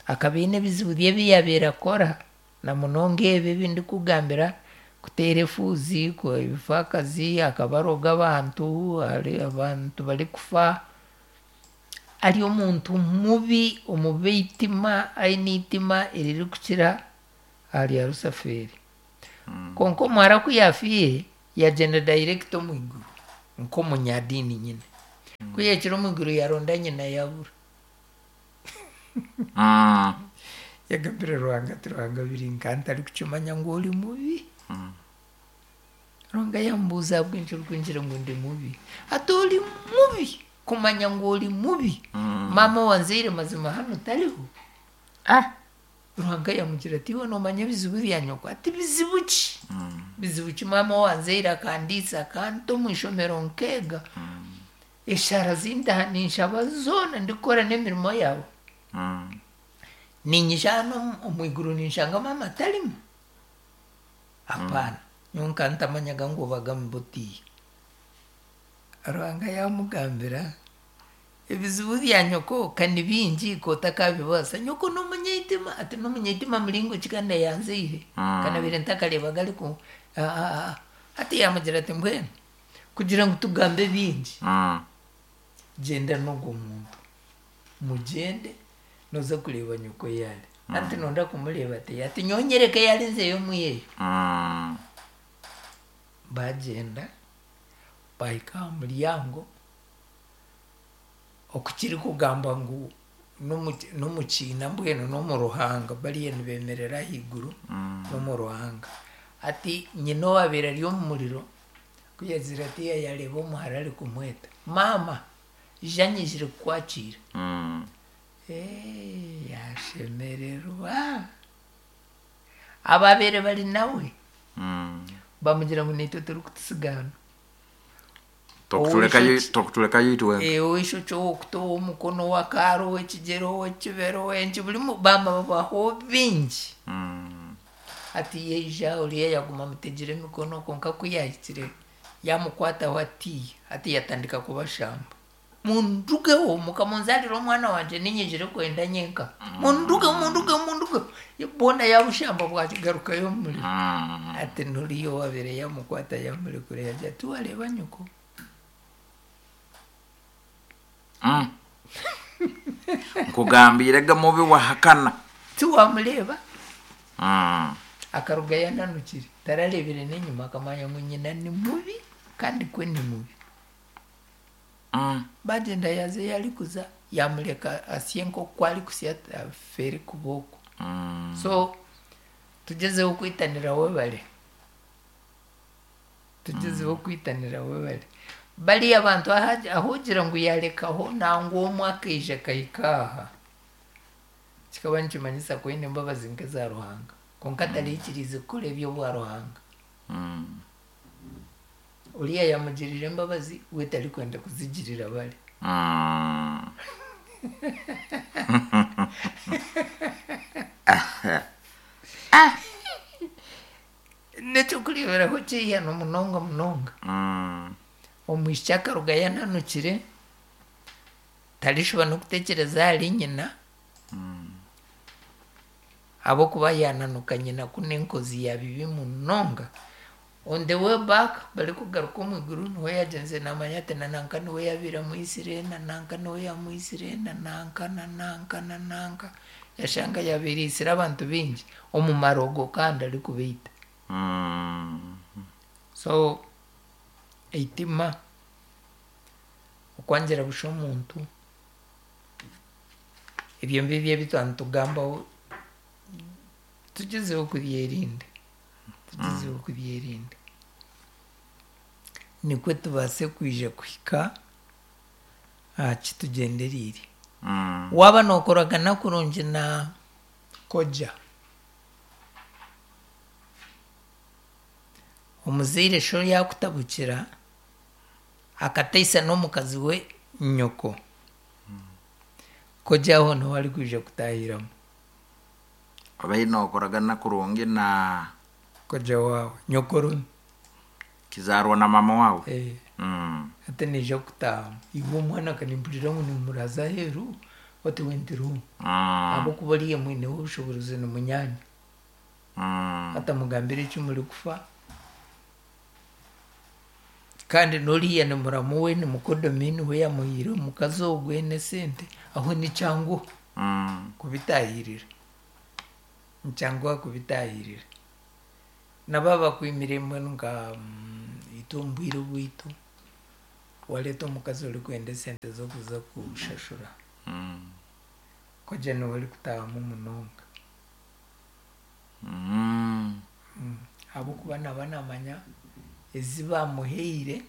Akaba aine ebizibu bye ebi yabaire akora na munonga ebi ebi ndikugambira kuteera efuuzi ku- ebifaakazi akaba aroga abantu ari abantu barikufa ari omuntu mubi omubi eitima aine eitima eririkukira aha rya Rusafeeri. Konka omuhara ku yafiire yagyenda direct omu iguru nk'omunyadiini nyine. Ku yahikire omu iguru yaronda nyina yabura. Mm. Yagambire Ruhanga ati, Ruhanga biri nka ntari kukimanya ngu ori mubi. Ruhanga yambuuza, ahabw'enki orikungira ngu ndi mubi? Ati ori mubi kumanya ngu ori mubi. Maama owanzaire mazima hanu tariho. Ah. Ruhanga yamugira ati, iwe noomanya ebizibu bya nyoko? Ati bizibu ki? Bizibu ki? Maama owanzaire akandiisa, akanta omu ishomero nkeega. Eshara zintaha ninshaba zoona ndikukora n'emirimo yawe. Mm. Ninyija hano omu iguru ninshanga maama atarimu? Apaana. Nyowe nka ntamanyaga ngu obaga mubutiye. Ruhanga yamugambira, ebizibu bya nyoko ka ni bingi kotakabibaasa. Nyoko n'omunyaitima. Ati n'omunyaitima muringo ki kandi ayanzaire? Mm. Kanabire ntakareebaga ariku ati yamugira ati, mbwenu kugira ngu tugambe bingi, Mm. gyenda n'ogwo muntu, mugyende noza kureeba nyoko yaari. Ati nonda kumureeba? Ati ati nyonyereke yari nzeyo muyeyo. Mm. Bagyenda bahika aha muryango, okukiri kugamba ngu n'omu- n'omukiina mbwenu n'omu ruhanga bariyo nibemerera ahaiguru n'omu ruhanga. Ati nyina owabeire ari omu muriro kuyazira ati yareeba omuhara ari kumweta, maama ija nyijire kukwakira. Mm. Eh, yashemererwa. Ababeire bari nawe Mm. bamugira ngu naitwe turikutusiga hano. Tokutulekayo. Owisho- Tokutulekayo itwe. Eh, ow'eishokye, ow'okutu, ow'omukono, ow'akaaro, ow'ekigyere, ow'ekibero, ow'enki, burimu bama babaho bingi. Mm. Ati yaija oriya yaguma amutegire emikono, konka ku yahikire yamukwataho atiya, ati yatandika kubashamba, mundugeho, mukamunzarira omwana wangye, ninyijire kwenda nyenka, mundugeho, mundugeho, mundugeho. Boona yabushamba bwakigarukayo omu muriro. Mm. Ati nuriya owabire yamukwata yamurekura, yagira ati, wareeba nyoko. Mm. Nkugambire ga mubi wahakana. Tiwamureeba. Mm. Akaruga yananukire, tararebire n'enyuma, akamanya ngu nyina ni mubi kandi kwe ni mubi. Mm. Bagyenda yaza eyarikuza, yamureka asye nk'oku arikusya, afeere kuba okwo. Mm. So tugyezeho kwitanira webare, tugyezeho kwitanira webare. Bariya abantu aha- ahogira ngu yarekaho nangwa omwe akaija akahika aha, kikaba nikimanyisa ku aine embabazi nk'eza Ruhanga, konka atarikiriize kukora eby'obwa Ruhanga. Mm. Oriya yamugirira embabazi, we tarikwenda kuzigirira bari. Mm. Nekyokureeberaho kyihano munonga munonga. Mm. Omwishiki akaruga yananukire, tarishuba n'okutekyereza ahari nyina, ahabw'okuba yananuka nyina ku n'enkozi ya bibi munonga. On the way back barikugaruka omu iguru, niwe yagyenze namanya ati nananka niwe yabiire amwisire, nananka niwe yamwisire, nananka, nananka, nananka, yashanga yabiire aisire abantu bingi omu marogo kandi arikubaita. Mm. So eitima, okwangira busha omuntu, ebyo ngibyo ebi twaba nitugambaho, tugyezeho kubyerinda, tugyezeho kubyerinda, nikwe tubaase kwija kuhika aha kitugyendereire. Mm. Waaba nookoragana kurungi na koja, omuzaire sho yakutabukira akataisa n'omukazi we nyoko, koja aho niho arikwija kutahiramu. Obaire nokoragana kurungi na koja waawe, nyokorumi. Kizarwa na mama wawe. Eh. Mm. Ati naija kutahamu, iwe omwana kanimpurira ngu nimuraza aheeru oti wentirumu. Mm. Ahabw'okuba oriya mwineho obushoboorozi, ni munyaanya. Mm. Atamugambira eki murikufa, kandi n'oriya ni muramu we, ni mukodomi, niwe yamuhaire omukazi ogwe n'esente. Aho nikyanguha Mm. kubitahirira, nikyanguha kubitahirira. Nabo bakwimire mbwenu nka mm, itwe omu bwire bwitu, wareeta omukazi orikwenda esente z'okuza kushashura, Mm. Koja niwe arikutahamu munonga. Mm. Ahabw'okuba naba namanya ezi bamuhaire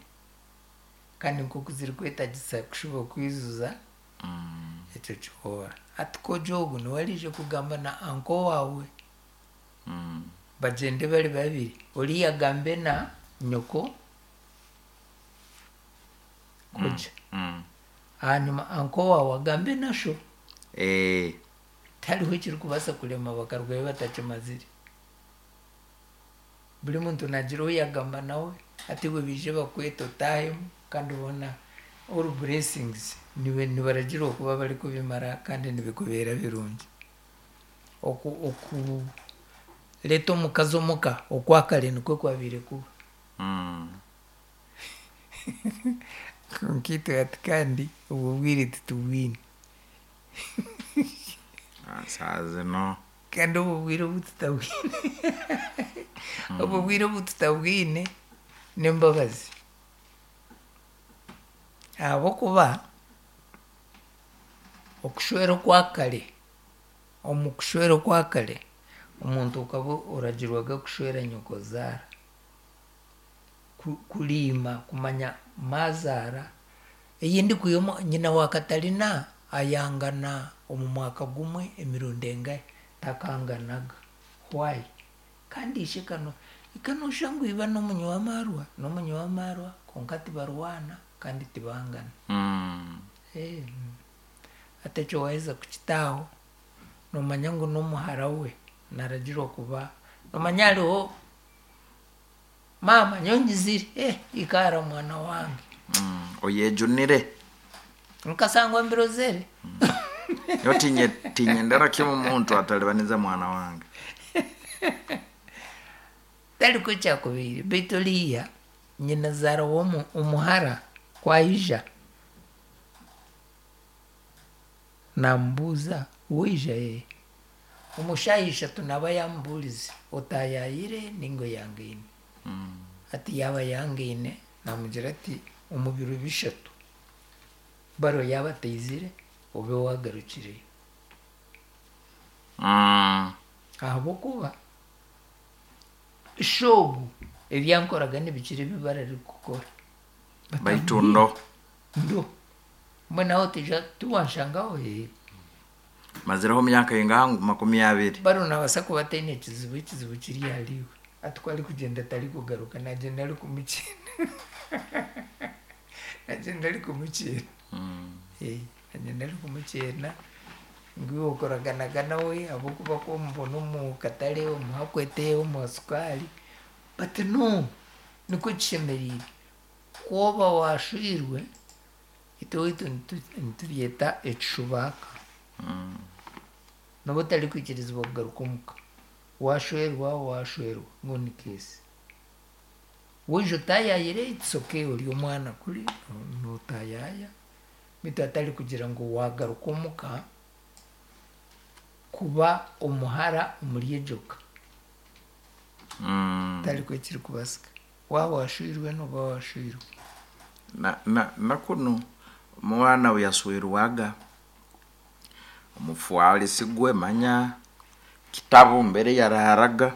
kandi nk'oku zirikwetagisa kushuba kwizuza Mm. ekyo kihora. Hati koja ogu niwe ariija kugamba na anko waawe Mm. bagyende bari babiri, oriya agambe na nyoko koja, Mm. ahanyuma anko waawe agambe na sho. Eh. Tihariho ekirikubaasa kurema bakarugayo batakimazire. Buri muntu nagira ou yagamba nawe, hati iwe baije bakwete otaahemu kandi boona all blessings nibe nibaragira okuba barikubimara kandi nibikubeera birungi. Oku okureeta omukazi omuka okwakare nikwo kwabaire kuba. Mm. Kwonka itwe hati kandi obwo bwire titubwine. Ah, saa zino Kandi obwo bwire obu tutabwine obwo bwire obu tutabwine n'embabazi. Ahabw'okuba okushwera okwakare, omu kushwera okwakare, omuntu okaba oragirwaga kushwera nyokozaara. Ku- Kuriima kumanya maazaara, eyindi kwiha nyina wa Katarina ayangana omu mwaka gumwe emirundi engahi takanganaga. Why? Kandi ishe kano ikanosha ngu iba n'omunywi w'amaarwa n'omunywi w'amaarwa kwonka tibarwana kandi tibangana. Mm. Eh, hati ekyo waaheza kukitaaho noomanya ngu n'omuhara we naragirwa kuba noomanya hariho maama nyowe nyizire eh, ikaara mwana wange. Mm. Oyejunire Nkasangwa mbirozere. Yo tinye tinyendera kimwe omuntu atalibaniza mwana wange. Tariko kyakubaire beitu oriya nyinazaara w'omu omuhara kwaija namubuuza waija ee omu shaaha ishatu naaba yaamubuurize otaayaayire ninga oyangaine. Mm. Hati yaaba yangaine namugira ati omu biro bishatu baro yaaba ataizire obe wagarukireyo. Mm. Ahabw'okuba shoobu ebyankoraga nibikira ebi bararikukora. Baitu ndo Ndo mbwenu aho tija tiwanshangaho ee mazireho myaka ingaha makumi abiri. Baro nabaasa kuba ataine ekizibu, ekizibu kiri ahariiwe. Hati ku arikugyenda tarikugaruka nagyenda arikumukyena. Nagyenda arikumukyena. Mm. Eh, nagyenda arikumukyena ngu iwe okoraganaga nawe ahabw'okuba ku omubona omu katare omuha kwete omuha sukaari but no nikwo kishemeriire. Ku oba waashwirwe itwe owaitu nitu- nitubyeta ekishubaaka. Mm. Nooba otarikwikirizibwa kugaruka omuka. Waashwerwa waashwerwa ngu ni keesi. Waija otaayaayire it's okay ori omwana kuri nootaayaaya beitu hatari kugira ngu waagaruka omuka kuba omuhara omuri egyo ka. Mm. Tarikwo ekirikubaasika. Waaba waashwirwe nooba waashwirwe. Na, na, na kunu omwana we yaswirwaga omufwalisi gwe manya kitabu mbere yaraharaga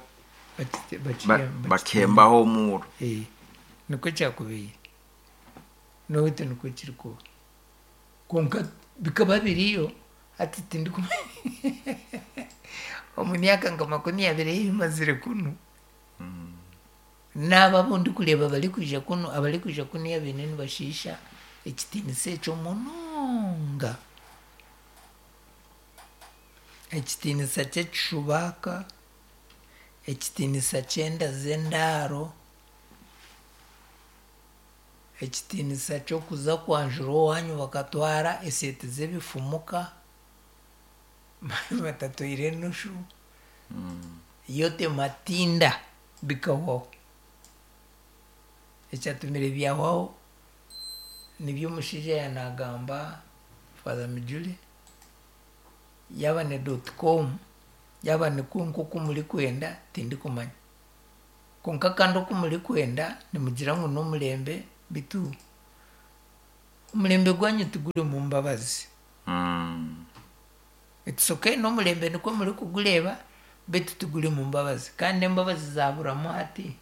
Bakite- ba, bakiyamba- bakembaho omuro. Eh, nikwo kyakubaire. N'owaitu nikwo kirikuba. Kwonka bikaba biriyo hati tindikumanya omu myaka nka makumi abiri ei mazire kunu naabo abu ndikureeba barikwija kunu abarikwija kunu abaine nibashiisha ekitiinisa ekyo munonga. Ekitiinisa ky'ekishubaaka, ekitiinisa ky'enda z'endaaro, ekitiinisa ky'okuza kwanjura owaanyu bakatwara eseete z'ebifumuka batatwaire enushu, yote matinda bikahwaho. Ekyatumire byahwaho nibyo omushaija yaanagamba Father Mijule, yaaba ni dot com, yaaba nikwo nk'oku murikwenda tindikumanya. Kwonka kandi oku murikwenda nimugira ngu n'omurembe beitu omurembe gwanyu tigurimu mbabazi. Mm. It's okay n'omurembe nikwo murikugureeba beitu tiguri mu mbabazi. Kandi embabazi zaburamu hati,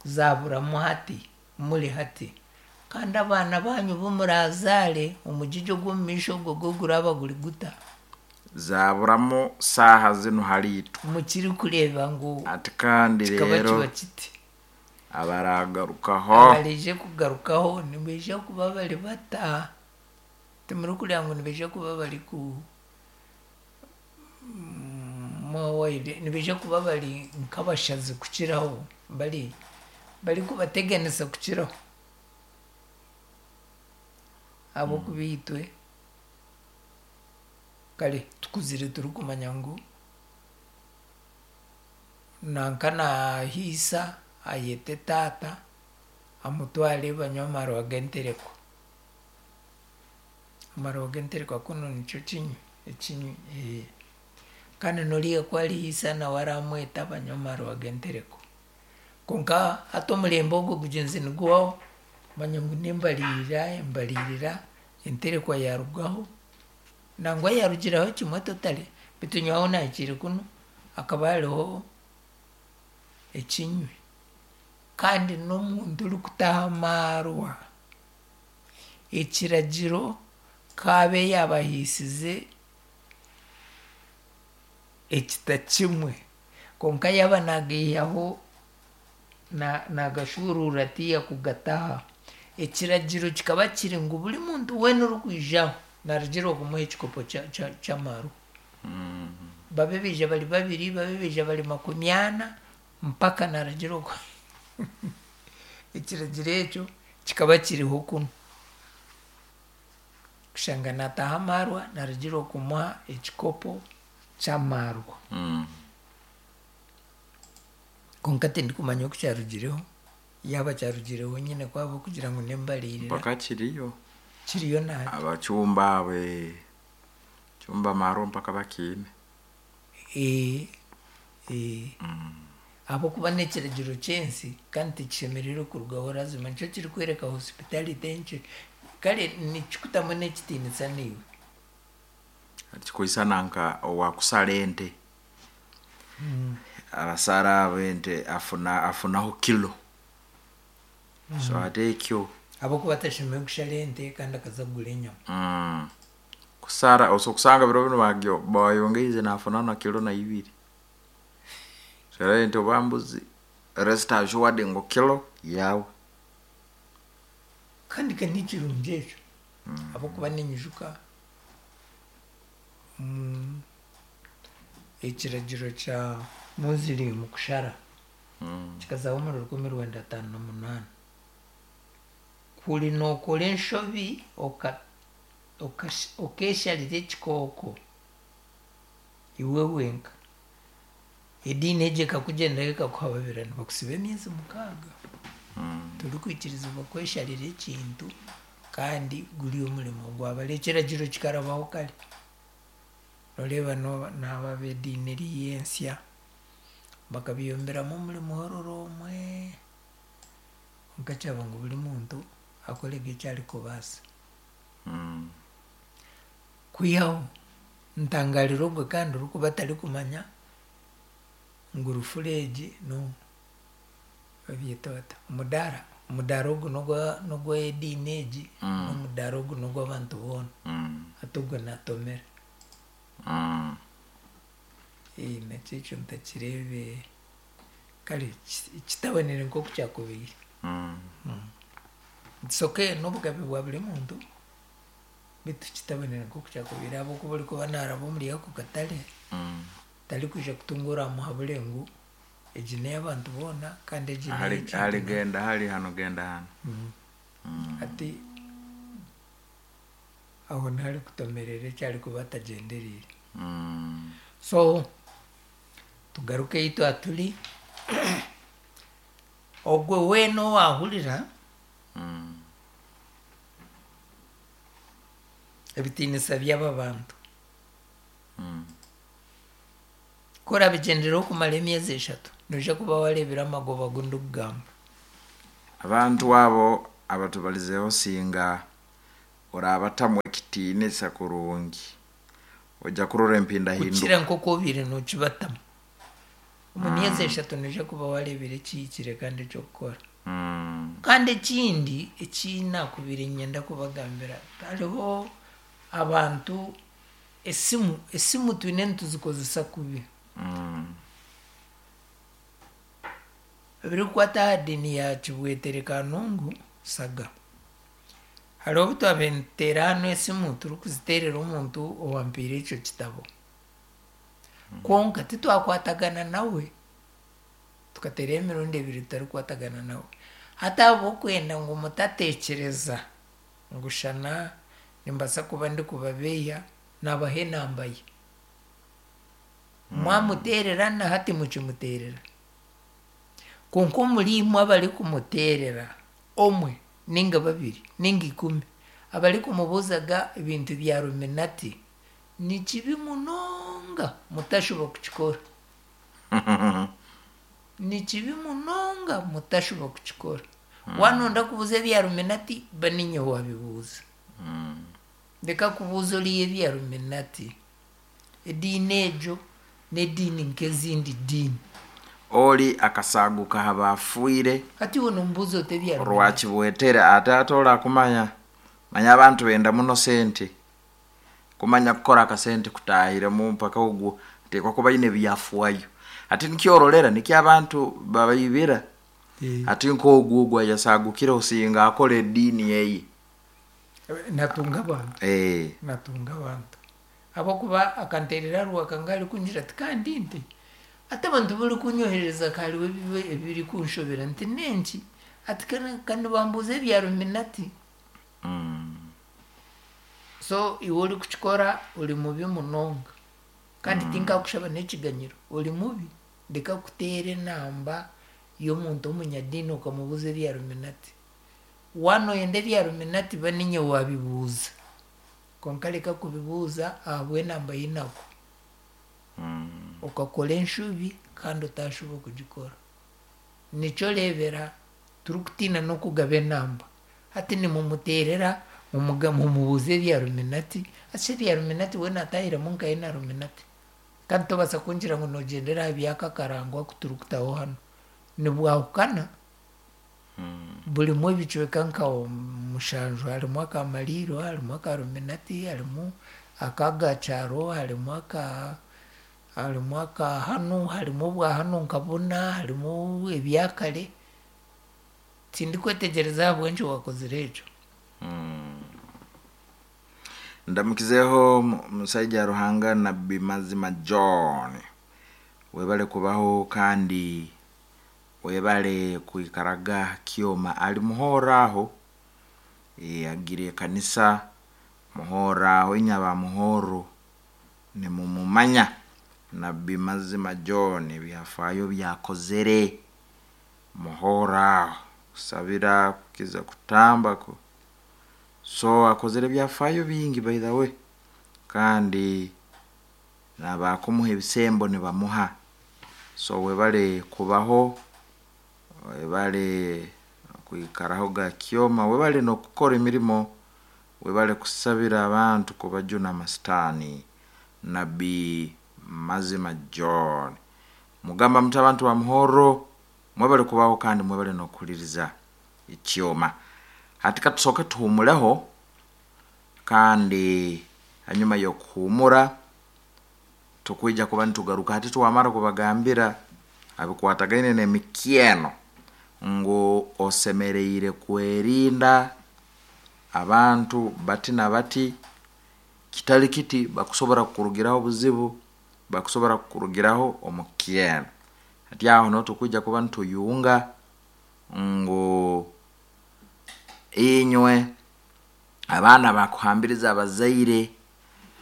zaburamu hati, muri hati. Kandi abaana banyu bu murazaare omugigi ogw'omu maisho ogwo gwo guraba guri guta? Zaburamu saaha zinu hariitwe. Mukirikureeba ngu Ati kandi kikaba rero kiba kiti. Abaragarukaho. Abarije kugarukaho nibaija kuba bari bata? Timurikureeba ngu nibaija kuba bari ku mwawaire nibaija kuba bari nk'abashazi kukiraho, bari barikubateganisa kukiraho. Ahabw'okuba itwe kare tukuzire turikumanya ngu nanka naahiisa ayete taata amutware banywe amarwa g'entereko. Amarwa g'entereko kunu nikyo kinywi ekinywi ee. Kandi n'oriya ku arihiisa nawe aramweta banywe amarwa g'entereko. Kwonka hati omurembe ogwo gugyenzi nigubaho, manya ngu n'embariirira embariirira enterekwa yaarugaho, nangwa yaarugiraho kimwe totally, beitu nyowe ahu naahikiire kunu hakaba hariho ekinywi. Kandi n'omuntu orikutaha amaarwa, ekiragiro kaabe yaabahiisize ekita kimwe, kwonka yaaba naagaihaho naagashuuruura tiya kugataha. Ekiragiro kikaba kiri ngu buri muntu weena orikwijaho naaragirwa kumuha ekikopo ky'amarwa. Babe baija bari babiri, babe baija bari makumi ana, mpaka naaragirwa ku ekiragiro ekyo kikaba kiriho kunu. Kushanga naataha amaarwa, naaragirwa kumuha ekikopo ky'amarwa. Kwonka tindikumanya oku kyarugireho, yaaba kyarugireho nyine ku ahabw'okugira ngu n'embariirira. Mpaka kiriyo. Kiriyo nahati. Abacumba abo chumba amarwa mpaka bakiine. Ee, ee. Ahabw'okuba n'ekiragiro ky'ensi kandi tikishemereire kurugaho lazima nikyo kirikworeka hospitality enkye. Kare nikikutamu n'ekitiinisa naiwe. Kikwisana nka owakusara ente. Abasara abo ente afuna afunaho kilo. So ate ekyo. Ahabw'okuba atashemereire kushara ente kandi akaza kugura enyama. Mm. Kusara oso kusanga biro bino bagyo bayongeize nafuna na kilo na ibiri. Sara ente oba mbuzi rest assured ngu kilo yawe. Kandi ka nikirungi ekyo. Ahabw'okuba ninyijuka mm, ekiragiro kya Muslim kushara kikazaho omuri rukumi rwenda ataano na munaana. Kuri nookora enshobi okeesharira ekikooko iwe wenka, ediini egyo ekakugyendaho ekakuhababira nibakusiba emyezi mukaaga. Torikwikirizibwa kwesharira ekintu kandi guri omurimo gwabare ekiragiro kikarabaho kare. Noreeba n'aba ab'ediini eriya ensya bakabiyomberamu omuri muhororo omwe, kwonka kyaba ngu buri muntu akorege eki arikubaasa. Kwihaho ntangarira ogwe kandi orikuba atarikumanya ngu rufura egi no babyeta bata omudaara, omudaara ogu n'ogw'ediini egi n'omudaara ogu n'ogw'abantu boona. Hati ogwe naatomera. Ee nakyo ekyo ntakireebe kare kitabonire nk'oku kyakubaire. It's okay n'obugabe bwa buri muntu beitu kitabonire nk'oku kyakubaire ahabw'okuba orikuba naaraba omuri ako katare tarikwija kutunga oramuhabure ngu egi n'ey'abantu boona kandi egi Hali hali genda hali hano genda hano. Hati aho niho arikutomerera eki arikuba atagyendereire. So tugaruke ei twaturi, ogwe weena owaahurira ebitiinisa by'aba bantu, ku orabigyendereho kumara emyezi eshatu, noija kuba waareebire amagoba agu ndikugamba. Abantu abo abatubalizeho singa orabatamu ekitiinisa kurungi, Ojja kurora empindahinduka. Kukira nk'oku obiire nookibatamu. Omu myezi eshatu noija kuba waareebire ekihikire kandi eky'okukora. Mm. Kandi ekindi eki naakubaire niinyenda kubagambira, hariho abantu esimu esimu twine nituzikozesa kubi. Mm. Ebirikukwata aha diini ya Kibwetere Kanungu Saga. Hariho obu twabaire nituteera hanu esimu turikuziteerera omuntu owampiire ekyo kitabo. Kwonka titwakwatagana nawe. Tukateerayo emirundi ebiri tutarikwatagana nawe. Hati ahabw'okwenda ngu mutateekyereza ngu shana nimbaasa kuba ndikubabeiha, naabaha enamba ye. Mwamuteerera na hati mukimuteerera. Kwonka omuri imwe abarikumuteerera, omwe ninga babiri ninga ikumi, abarikumubuuzaga ebintu bya Illuminati, ni kibi munonga mutashuba kukikora. Ni kibi munonga mutashuba kukikora. Waanonda kubuuza ebya Illuminati, ba niinye waabibuuza. Mm. Reka kubuuza oriya ebya Illuminati. Ediini egyo n'ediini nk'ezindi diini. Oli akasaguka aha bafiire. Hati iwe nomubuuza ota ebya Illuminati? Rwakibwetere ate ate orakumanya manya abantu benda muno sente, kumanya kukora akasente kutahiremu mpaka ogwo ateekwa kuba aine ebyafaayo. Hati nikyororera nikyo abantu babaibira. Hati nk'ogwo ogwo ayasagukire osinga akora ediini eye. Natunga abantu. Eh. Natunga abantu. Ahabw'okuba akanteerera rwakanga arikungira ati kandi nti ati abantu barikunyoherereza ka hariho ebirikunshobera nti n'enki? Ati ka nibambuuza ebya Illuminati. Mm. So iwe orikukikora ori mubi munonga. Kandi tinkakushaba n'ekiganyiro, ori mubi. Reka kuteera enamba y'omuntu omunyadiini okamubuuza ebya Illuminati. Waanoyenda ebya Illuminati ba niinye waabibuuza. Kwonka reka kubibuuza ahabw'enamba ei nakuha. Mm. Okakora enshobi kandi otashuba kugikora. Nikyo oreebera turikutiina n'okugaba enamba. Hati nimumuteerera mumubuuze ebya Illuminati, ati ebya Illuminati we naatahiremu nkahe na Illuminati? Kandi tobaasa kungira ngu noogyendera aha by'aka akarango aku turikutaho hanu. Nibwahukana, Mm. burimu ebicweka nka mushanju, harimu aka Mariiro, harimu aka Illuminati, harimu ak'agakyaro, harimu aka harimu aka hanu, harimu obwa hanu nka buna, harimu ebyakare. Tindikwetegyereza ahabw'enki waakozire ekyo. Mm. Ndamukizeho musaija Ruhanga Nabbi Mazima John, webale kubaho kandi webale kwikaraga Kyoma. Ali muhoro aho, e, agire ekanisa muhoro aho, inyaba muhoro nimumumanya Nabbi Mazima John, ebyafaayo byakozere muhoro aho, kusabira kukiza kutamba ku so akozere ebyafaayo bingi by the way, kandi nabakumuha ebisembo nibamuha. So webale kubaho, webale kwikaraho ga Kyoma, webale n'okukora emirimo, webale kusabira abantu kubajuna amasitaani. Nabbi Mazima John, mugamba muti abantu ba muhoro mwebale kubaho kandi mwebale n'okuhuliriza ekyoma. Hati katusooke tuhumuleho, kandi hanyuma y'okuhumura tukwija kuba nitugaruka. Hati twamara kubagambira abikwatagaine n'emikyeno ngu osemereire kwerinda abantu bati na bati, kitali kiti bakusobora kukurugiraho obuzibu, bakusobora kukurugiraho omukyeno. Hati aho niho tukwija kuba nituyunga ngu inywe abaana bakuhambiriza abazaire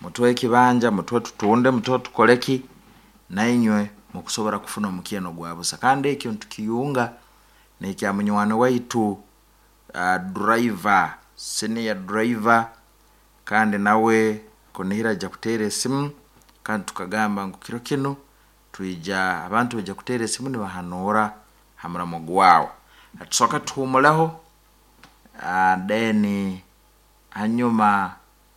mutwe ekibanja, mutwe tutunde, mutwe tukoleki, nainywe mukusobora kufuna omukyeno gwa busa. Kandi ekyo nitukiyunga nekya munywani waitu uh, driver, senior driver, kandi nawe kunihira aja kuteera esimu, kandi tukagamba ngu kiro kinu twija abantu baija kuteera esimu nibahanuura ha muramo gwawe. Tusooka tuhumuleho, uh, then hanyuma